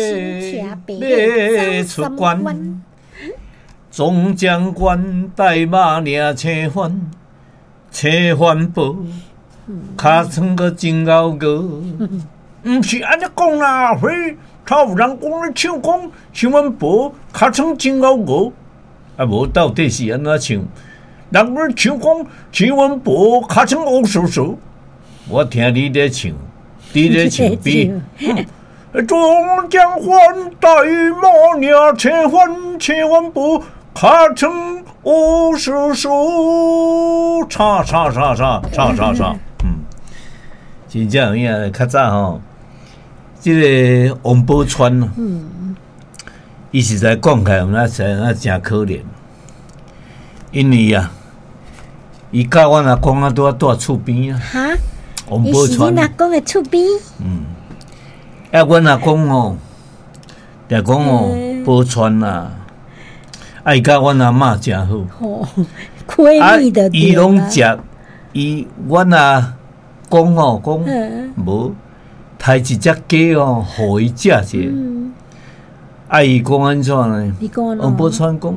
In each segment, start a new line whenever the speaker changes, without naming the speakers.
欲出關，總將軍帶馬領青番，青番婆，尻川閣真𠢕熬。毋是按呢講啦，嘿，頭有人講咧唱講青番婆尻川真𠢕熬，啊無到底是按怎唱？人咧唱講青番婆尻川烏索索，我聽你咧唱，你咧唱比。總將軍帶馬領青番，青番婆尻川烏索索，唱唱唱唱唱唱唱，真正有影，較早吼，這个王寶釧，伊實在講起來，那實在誠可憐，因為啊，伊佮阮阿公啊，拄仔住厝邊啊。
哈？
王寶釧。
伊是恁阿公的厝邊？
嗯。啊，阮阿公哦，就講哦，寶釧啊，啊，伊佮阮阿嬤誠好。
吼，閨蜜的。
伊攏食，伊阮阿公哦，講無刣一隻雞哦，予伊食者。啊，伊講按怎呢？王寶釧講，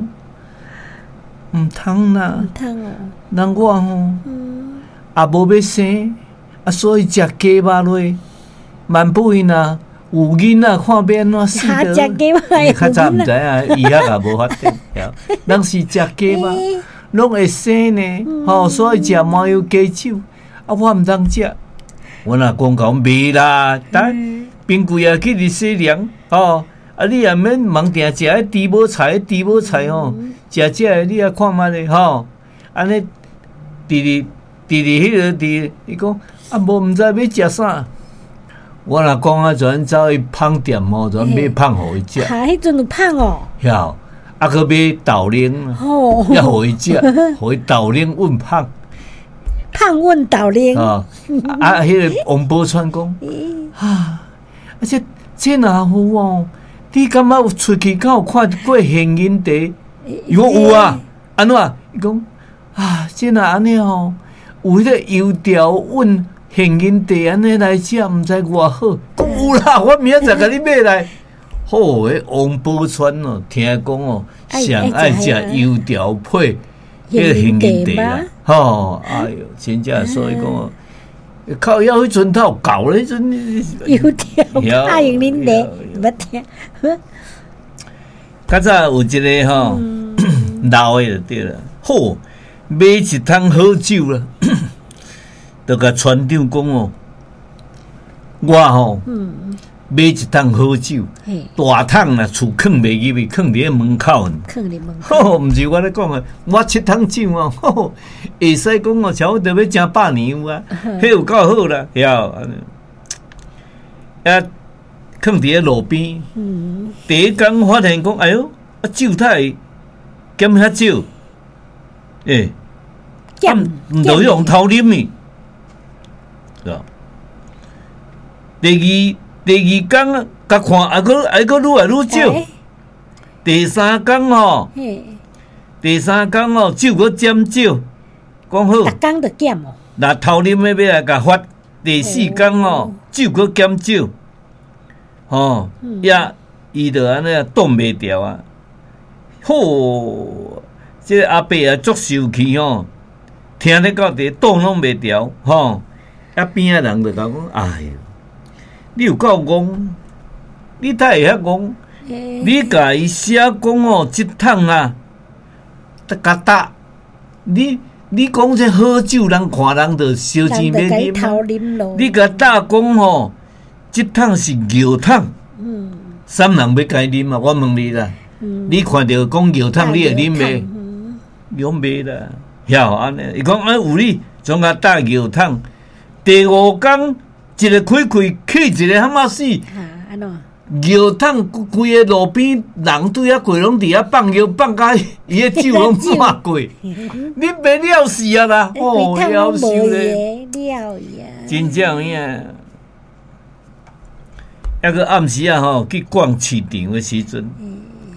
毋通啦，
毋通哦。
人我吼，也無欲生，啊，所以食雞肉落，萬不因啊。有囡仔看欲按怎死的？較早毋知影，醫學也無發展，人是食雞肉，攏會生呢，吼，所以食麻油雞酒，啊，我毋通食。阮阿公講袂啦，等冰櫃也去佇洗涼，吼，啊，你也免茫定食彼豬母菜，豬母菜吼，食這个你也看覓咧，吼，按呢，佇佇佇佇彼个佇，伊講啊，無毋知欲食啥。我若講啊，就按走去麭店吼，就買麭予伊食。
哈，彼陣有麭哦。
曉，啊，閣買豆奶，也予伊食，予伊豆奶混麭。
麭混豆奶。
啊，啊，彼个王寶釧講，啊，啊這這若有哦，你感覺有出去敢有看過現金茶？伊講有啊，按怎？伊講啊，這若按呢吼，有彼个油條混現金茶按呢來食，毋知偌好。講有啦，我明仔載共你買來。好，彼王寶釧哦，聽講哦，上愛食油條配彼个現金茶啦。吼，哎喲，真正所以講哦，靠腰彼陣頭厚咧，彼陣
油條配現金茶，捌聽。
較早有一个吼老的就對啦，好買一桶好酒啦，就共船長講哦，我吼買一桶好酒，大桶啦，厝囥袂入去，囥佇咧門口。
囥佇門口。
毋是我咧講的，我七桶酒哦，會使講哦，差不多欲成百年有啊，彼有夠好啦，曉。啊，囥佇咧路邊，第一工發現講，哎喲，啊酒哪會減遐少？欸，毋著去予偷啉去，是吧？第二工共看，還閣還閣愈來愈少。第三工吼，第三工吼，酒閣減少，講好。
逐工都減哦。
若偷啉的欲來共罰。第四工吼，酒閣減少，吼，也伊就按呢擋袂牢啊。好，這个阿伯啊足受氣吼，聽咧到佇擋攏袂牢，吼。啊邊仔人就共講，哎喲，你有夠戇，你哪會遐戇？你共伊寫講哦，這桶啊，共打，你講這好酒，人看人就燒錢欲啉。你共打講吼，這桶是尿桶，啥人欲共伊啉啊？我問你啦，你看著講尿桶，你會啉袂？用袂啦，曉按呢？伊講啊有你，總共打尿桶。第五工，一个開開去一个譀仔死。尿桶規个路邊人對遐過，攏佇遐放尿放甲伊个酒攏抹過，你袂了死啊啦！哦，夭壽咧，真正有影。抑閣暗時啊吼，去逛市場的時陣，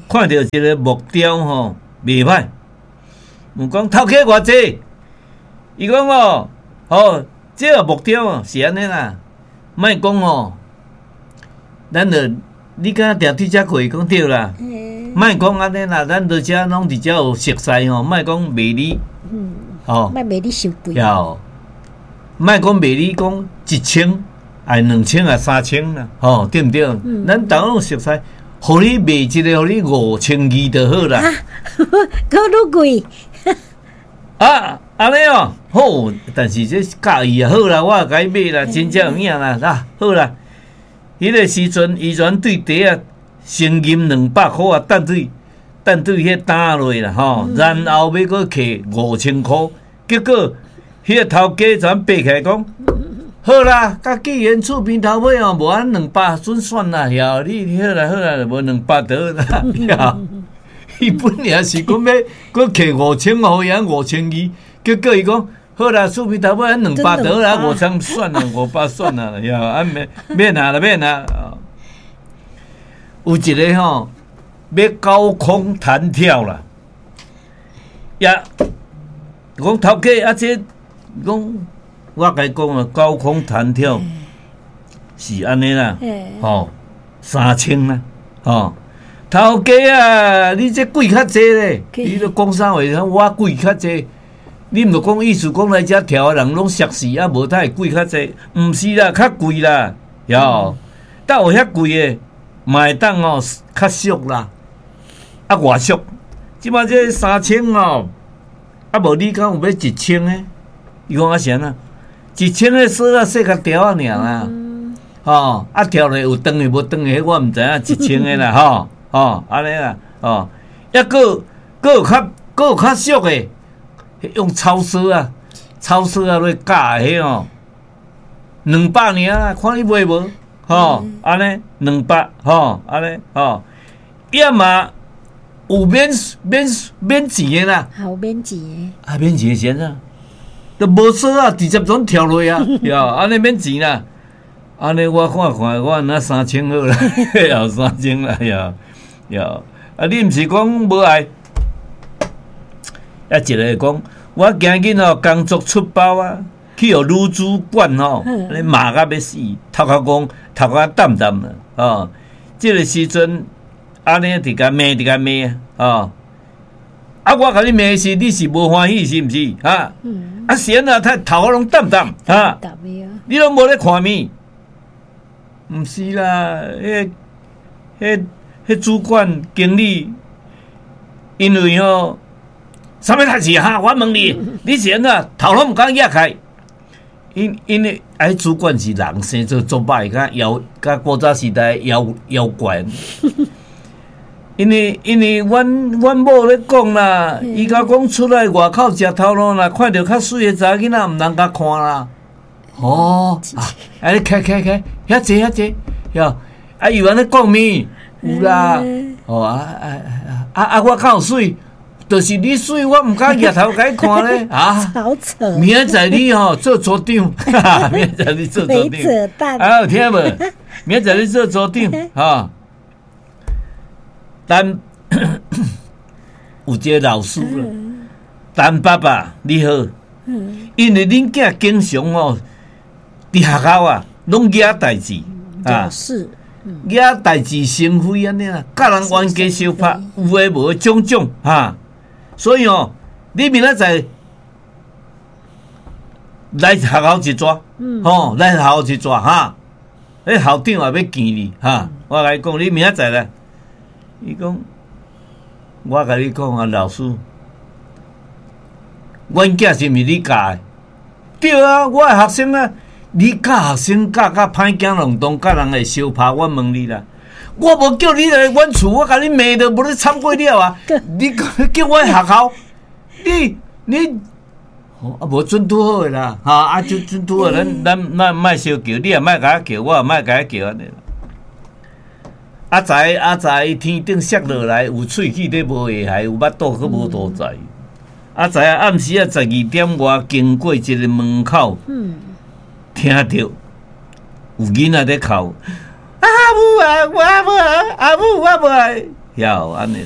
看著一個木雕吼，袂歹。問講頭家偌濟？伊講哦，吼，這個木雕哦是按呢啦，莫講哦，咱著你敢定對遮過？講對啦，莫講按呢啦，咱佇遮攏佇遮有熟似吼，莫講賣你，吼，
莫賣你傷貴，
有，莫講賣你講1000，愛2000啊3000啦，吼，對毋對？咱逐個攏熟似，予你賣一个，予你5200就好啦。
閣愈貴。
啊，按呢哦，好，但是這佮意啊，好啦，我也共伊買啦，真正有影啦，啊，好啦。彼个時陣，伊全對袋仔先銀200箍啊，等對彼擔落啦，吼，然後欲閣摕5000箍，結果彼个頭家全爬起來講，好啦，佮既然厝邊頭尾哦，無按200準算啦，曉你好啦好啦，無兩百就好啦，伊本來是講欲閣摕五千，予伊按5200，結果伊講。好啦，厝邊頭尾按200就好啦，5000算啦，500算啦，呀，啊免免拿啦，免拿。有一个吼，欲高空彈跳啦，呀，講頭家啊，這講我共伊講啊，高空彈跳是按呢啦，吼，3000啦，吼，頭家啊，你這貴較濟咧，你咧講啥話？我貴較濟。你毋著講意思講來遮跳的人攏熟似啊，無太會貴較濟，毋是啦，較貴啦，喲，但有遐貴的，嘛會當哦，較俗啦，啊偌俗，這擺這三千哦，啊無你敢有欲1000的？伊講啊是按怎？1000的索仔細較條仔爾啦，吼，啊跳落有斷的無斷的，彼我毋知影，1000的啦，吼，吼，按呢啦，吼，抑閣閣有較閣有較俗的。用草索啊，草索啊，落咬的彼哦，200爾啦，看你買無，吼，按呢200，吼，按呢，吼，抑嘛有免免免錢的啦，
有免錢的，
啊免錢的是按怎？都無索啊，直接總跳落啊，喲，按呢免錢啦，按呢我看看，我若3000好啦，有3000啦，喲，喲，啊你毋是講無愛？啊，一个講，我今日吼工作出包啊，去予女主管吼，按呢罵甲欲死，頭殼戇，頭殼澹澹啦，哦，這个時陣，按呢佇共罵，佇共罵啊，哦，啊，我共你罵時，你是無歡喜是毋是？哈，啊是按怎，頭頭殼攏澹澹，哈，你攏無咧看物？毋是啦，彼、彼、彼主管經理，因為吼。啥物代誌哈？我問你，你是按怎頭攏毋敢攑開？因為哎，主管是人生做足歹，佮妖佮古早時代妖妖怪。因為阮某咧講啦，伊共講出來外口食頭路啦，看著較媠的查某囡仔，毋通共看啦。哦，啊，你開開開，遐濟遐濟，喲，啊，伊有按呢講物？有啦。哦啊啊啊啊！我較有媠。就是你媠，我毋敢額頭共你看咧啊！
好扯！
明仔載你吼做組長，明仔載你做組長，啊有聽無？明仔載你做組長，哈！但有一个老師啦，陳爸爸你好，因為恁囝經常吼佇學校啊，攏惹代誌啊。惹代誌成非按呢啦，佮人冤家相拍，有的無的種種哈。所以哦，你明仔載來學校一逝，吼，來學校一逝哈。彼校長也欲見你哈。我共伊講，你明仔載來。伊講，我共你講啊，老師，阮囝是毋是你教的？對啊，我的學生啊，你教學生教甲歹囝攏當，佮人會相拍，我問你啦。我無叫你來阮厝，我共你罵都無咧懺悔了啊！你叫我學校，你你啊無準拄好的啦，哈啊就準拄好，咱咱咱莫相叫，你也莫共我叫，我也莫共你叫按呢。阿才阿才，天頂摔落來，有喙齒咧無下頦，有腹肚閣無肚臍。阿才暗時啊12點外經過一个門口，聽著有囡仔咧哭。阿母啊，我無愛，阿母我無愛，曉按呢。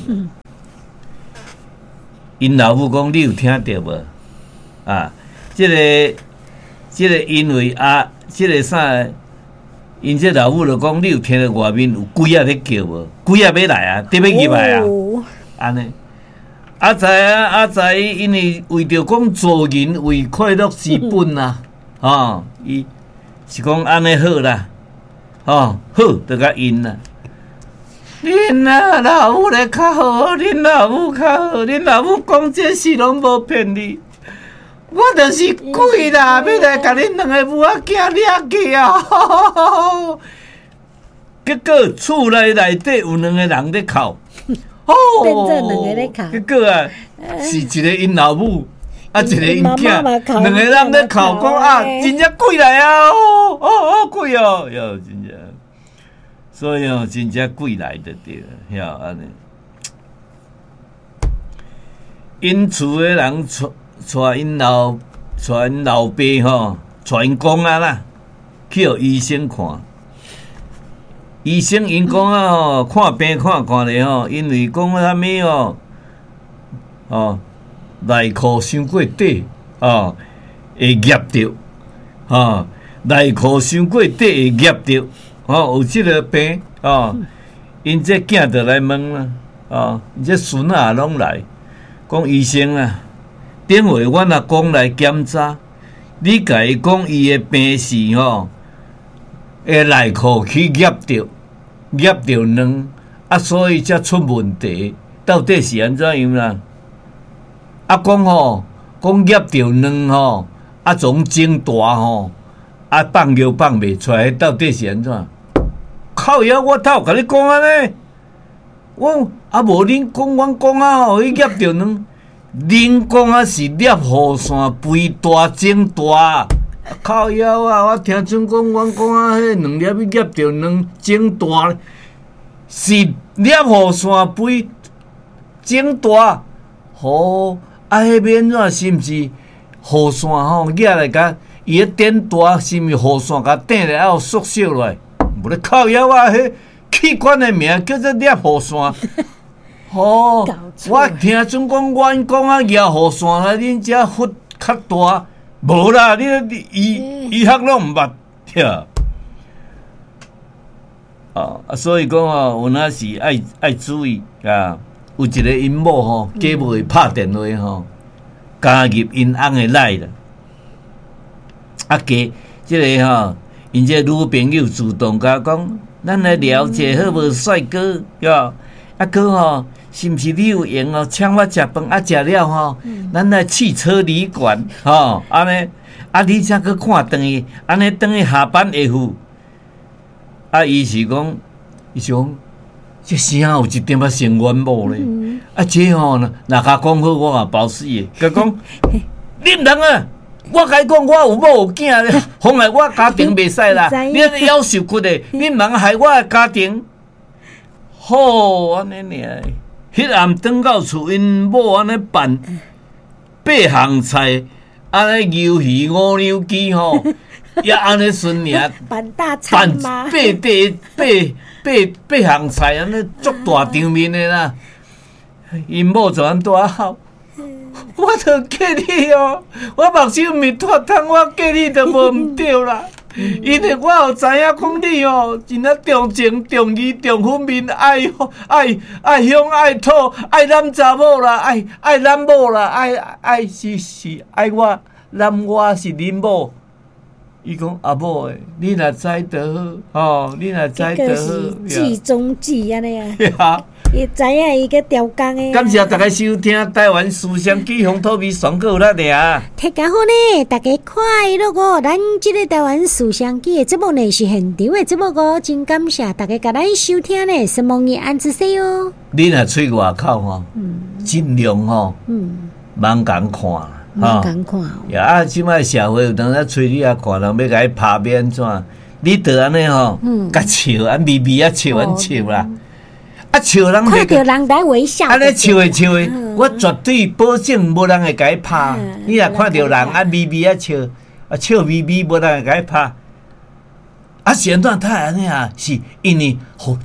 𪜶老母講，你有聽著無？啊，這个這个因為啊，這个啥， 𪜶這老母就講，你有聽著外面有鬼仔咧叫無？鬼仔欲來啊，佇欲入來啊！按呢，啊知啊啊知，因為為著講做人為快樂之本啊，吼，伊是講按呢好啦，吼，好就共應啦。恁啊老母咧較好，恁老母較好，恁老母講這事攏無騙你。我就是鬼啦，欲來共恁兩个母仔囝掠去啊！結果厝內內底有兩个人咧哭，哦，
變做兩个咧哭。
結果啊，是一个𪜶老母，啊，一个𪜶囝，兩个人咧哭，講啊，真正鬼來啊！哦哦哦，鬼哦，喲，真正，所以哦，真正鬼來就對了，曉按呢。𪜶厝的人帶帶𪜶老爸吼，帶𪜶公仔啦，去予醫生看。醫生𪜶講啊吼，看病看看咧吼，因為講啥物吼，哦，內褲傷過短，哦，會夾著，吼，內褲傷過短會夾著，吼，有這个病，哦，𪜶這囝就來問啦，哦，𪜶這孫仔也攏來，講醫生啊，頂回阮阿公來檢查，你共伊講伊的病是吼，會內褲去夾著。夾著卵，啊，所以才出問題。到底是按怎樣啦？啊，講吼，講夾著卵吼，啊，總腫大吼，啊，放尿放袂出來，到底是按怎？靠腰，我哪有共你講按呢？我啊，無恁講，阮講啊吼，彼夾著卵，恁講啊是攝雨傘肥大腫大。靠腰啊！我聽準講，阮講啊，彼兩粒去夾著卵腫大，是攝雨傘肥腫大。吼，啊，彼欲按怎？是毋是雨傘吼？举來共伊咧顶大，是毋是雨傘共頂了後縮小落來？無咧靠腰啊！彼器官的名叫做攝雨傘。吼，我聽準講，阮講啊，舉雨傘來，恁遮忽較大。無啦，你你醫醫學攏毋捌，對。啊，所以講哦，有哪時愛愛注意啊。有一个𪜶某吼，假冒會拍電話吼，加入𪜶翁的 LINE 啦。啊，加這个吼，𪜶這个女朋友主動共講，咱來聊一下好無，帥哥，對。啊，閣吼，是毋是你有閒哦？請我食飯啊，食了吼，咱來汽車旅館吼，按呢，啊，你才閣看轉去，按呢轉去下班下午。啊，伊是講，伊是講，這聲有一點仔像阮某咧。啊，這吼，若共講好，我嘛包死的。共講，你毋通啊！我共你講，我有某有囝咧，妨礙我家庭袂使啦。你按呢夭壽骨的，你毋通害我的家庭。好，按呢爾。彼暗轉到厝，𪜶某按呢辦八項菜，按呢魷魚五兩雞吼，也按呢順爾
辦大餐嗎？
辦八八八八項菜，按呢足大場面的啦。𪜶某就按拄仔哭，我著嫁你哦，我目睭毋是脫窗，我嫁你著無毋對啦。因為我有知影講你哦，真正重情重義重分明，愛愛愛鄉愛土，愛攬查某啦，愛愛攬某啦，愛愛是是愛我攬我是恁某。伊講阿某欸，你若知就好，吼，你若知就好。
計中計按呢啊。伊知影伊去調工的。
感謝大家收聽台灣思想記鄉土味上閣有力爾。
大家好呢，大家快樂哦！咱這个台灣思想記的節目呢是現場的節目哦，真感謝大家共咱收聽呢，承蒙你按姿勢哦。
你若出外口吼，盡量吼，茫共看啦，
茫共看。
啊，這擺社會有當時揣你啊看人欲共你拍欲按怎？你著按呢吼，共笑，按微微啊笑，按笑啦。啊笑人，
看著人來微笑。
按呢笑的笑的，我絕對保證無人會共你拍。你若看著人啊微微啊笑，啊笑微微，無人會共你拍。啊是按怎？他會按呢啊？是因為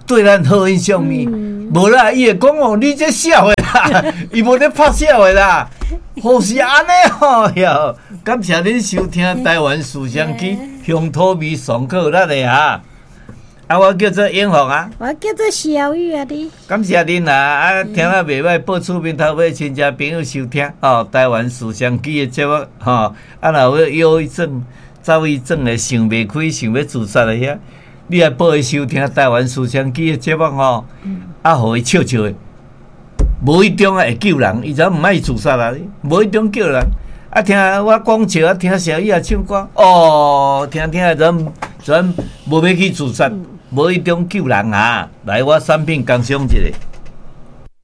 對咱好印象呢？無啦，伊會講哦，你這痟的啦，伊無咧拍痟的啦。好是按呢吼喲！感謝恁收聽台灣思想記鄉土味上閣有力的啊！啊，我叫做永福啊，
我叫做小玉啊，你
感謝恁啊！啊，聽啊袂䆀，報出面頭尾親戚朋友收聽哦。台灣思想機的節目吼，啊，若有憂鬱症、躁鬱症的想袂開、想欲自殺的遐，你來報伊收聽台灣思想機的節目吼，啊，予伊笑笑的，無意中啊會救人，伊就毋愛自殺啊，無意中救人。啊，聽我講笑啊，聽小玉啊唱歌，哦，聽聽人人無欲去自殺。無意中救人啊！來，我產品工商一下。